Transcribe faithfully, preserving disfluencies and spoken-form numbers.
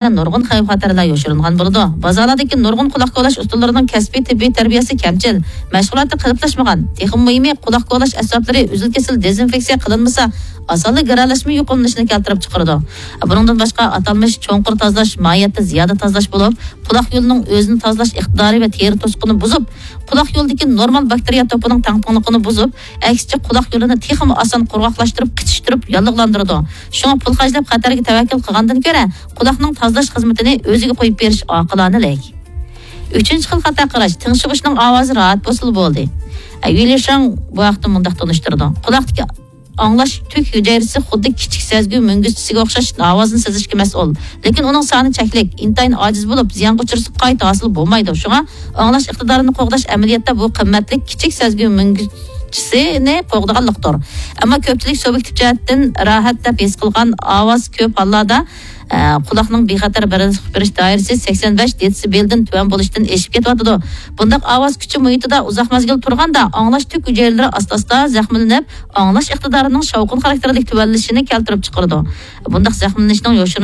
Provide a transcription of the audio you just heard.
نۇرغۇن خەۋپ-خەتەرلەر يوشۇرۇنغان بولىدۇ. بازارلاردىكى نۇرغۇن قۇلاق كولاش ئۇسكۇنىلىرىنىڭ كەسپىي تېببىي تەربىيەسى كەمچىل، مەشغۇلاتى قېلىپلاشمىغان. تېخىمۇ مۇھىمى، قۇلاق كولاش ئەسۋابلىرى ئۈزۈل-كېسىل دېزىنفېكسىيە قىلىنمىسا، ئاسانلا گىرەلەشمە يۇقۇملىنىشىنى كەلتۈرۈپ چىقىرىدۇ. بۇنىڭدىن باشقا، ئاتالمىش چوڭقۇر تازىلاش ماھىيەتتە زىيادە تازىلاش بولۇپ، قۇلاق يولىنىڭ ئۆزىنى تازىلاش ئىقتىدارى ۋە تېرە توسۇقىنى بۇزۇپ، قۇلاق يولىدىكى نورمال باكتېرىيە توپىنىڭ تەڭپۇڭلۇقىنى بۇزۇپ، ئەكسىچە قۇلاق يولىنى تېخىمۇ ئاسان قۇرغاقلاشتۇرۇپ، قىچىشتۇرۇپ، ياللۇغلاندۇرىدۇ. شۇڭا پۇل خەجلەپ خەتەرگە تەۋەككۈل قىلغاندىن كۆرە، قۇلاقنىڭ تازىلاش خىزمىتىنى ئۆزىگە قويۇپ بېرىش ئاقىلانىلىك. ئۈچىنچى خىل خاتا قاراش، تىڭشىۋۇشنىڭ ئاۋازى راھەت بولسىلا بولدى. ئە، يۈلى شاڭ بۇ ھەقتە مۇنداق تونۇشتۇرىدۇ. قۇلاقتىكى ئاڭلاش تۈك ھۈجەيرىسى خۇددى كىچىك سەزگۈ مۈڭگۈزچىسىگە ئوخشاش ئاۋازنى سېزىشكە مەسئۇل. لېكىن ئۇنىڭ سانى چەكلىك، ئىنتايىن ئاجىز بولۇپ، زىيانغا ئۇچرىسا قايتا ھاسىل بولمايدۇ. شۇڭا ئاڭلاش ئىقتىدارىنى قوغداش ئەمەلىيەتتە بۇ قىممەتلىك كىچىك سەزگۈ مۈڭگۈزچىسىنى قوغدىغانلىقتۇر. ئەمما كۆپچىلىك سۇبيېكتىپ جەھەتتىن راھەت دەپ ھېس قىلغان ئاۋاز كۆپ ھاللاردا، ئە، قۇلاقنىڭ بىخەتەر بېرىش دائىرىسى سەكسەن بەش دېتسىبېلدىن تۆۋەن بولۇشتىن ئېشىپ كېتىۋاتىدۇ. بۇنداق ئاۋاز كۈچى مۇھىتىدا ئۇزاق مەزگىل تۇرغاندا ئاڭلاش تۈك ھۈجەيرىلىرى ئاستا-ئاستا زەخىملىنىپ، ئاڭلاش ئىقتىدارىنىڭ شاۋقۇن خاراكتېرلىك تۆۋەنلىشىنى كەلتۈرۈپ چىقىرىدۇ. بۇنداق زەخىملىنىشنىڭ يوشۇرۇن